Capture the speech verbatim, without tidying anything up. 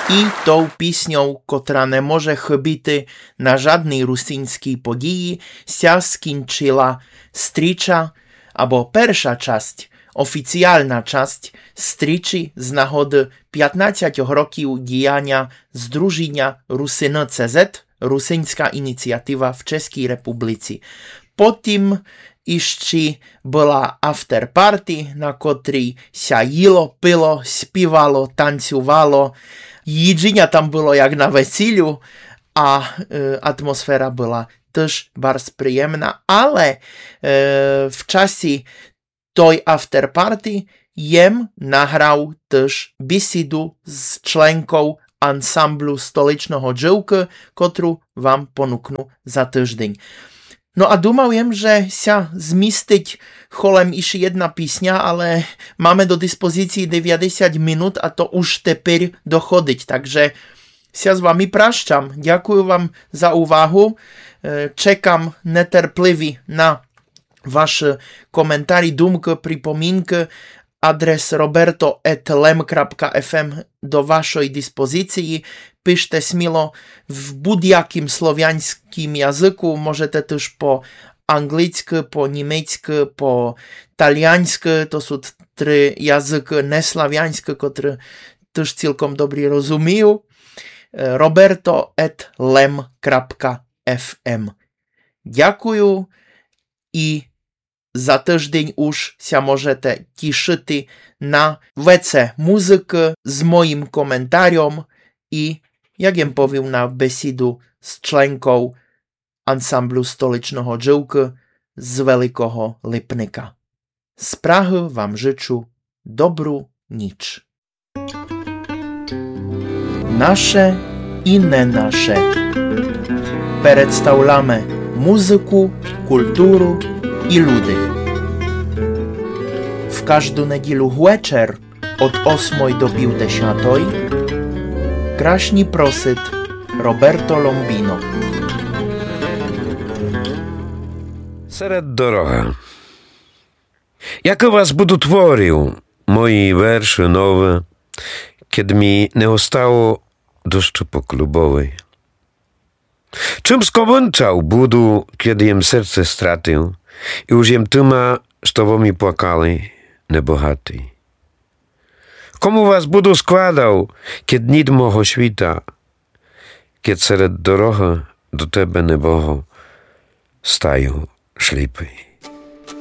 И тов пісньов, котра не може хыбіти на жадній русинській події, ся скінчила стріча, або перша часть, офіціална часть стрічі з нагоды пятнадцятьох років діяня Здружіня Русины C Z, Русинська ініціатива в Чеській републіці. Потім іщі была афтерпарті, на котрій ся їло, пило, співало, танцювало. Їджіня там было як на весілю, а, е, атмосфера была тыж барз приємна, але, е, в часі той афтерпарті єм награв тыж бісіду з членков ансамблю Столичного джывкы, котру вам понукну за тыждень. Но а думав єм, же ся змістить холем іщі єдна пісня, але маме до диспозіції девятдесят минут, а то уж теперь доходить. Так же ся з вами пращам. Дякую вам за увагу. Е, чекам нетерпливі на вашы коментарі, думкы, припомінкы. Адрес roberto at lem kropka f m до вашой диспозіції. Пиште сміло в будь-якім словянськім языку. Можете тыж по англійськы, по німецькы, по тальянськы. То сут три языкы неславянськы, котры тыж цілком добрі розумію. Е, roberto at lem kropka f m. Дякую і за тыждень уж ся можете тішыти на веце музыкы з моїм коментарьом і, як єм повів, на бесіду з членков ансамблю Столичного джывкы з Великого Липника. З Прагы вам жычу добру ніч. Наше і не наше. Представляме музыку, културу і люди. В кажду неділю гвечер од осмой до півдесятой красні просит Роберто Ломбіно. Серед дорогы. Як у вас буду творив мої вершы новы, кед мі не остало дощу по клубовій? Чым скомынчав буду, кед єм серце стратив, і уж єм тыма, што во мі плакали, небогатий? Кому вас буду складав, кед ніт мого світа, кед серед дорогы до тебе, небого, стаю сліпий?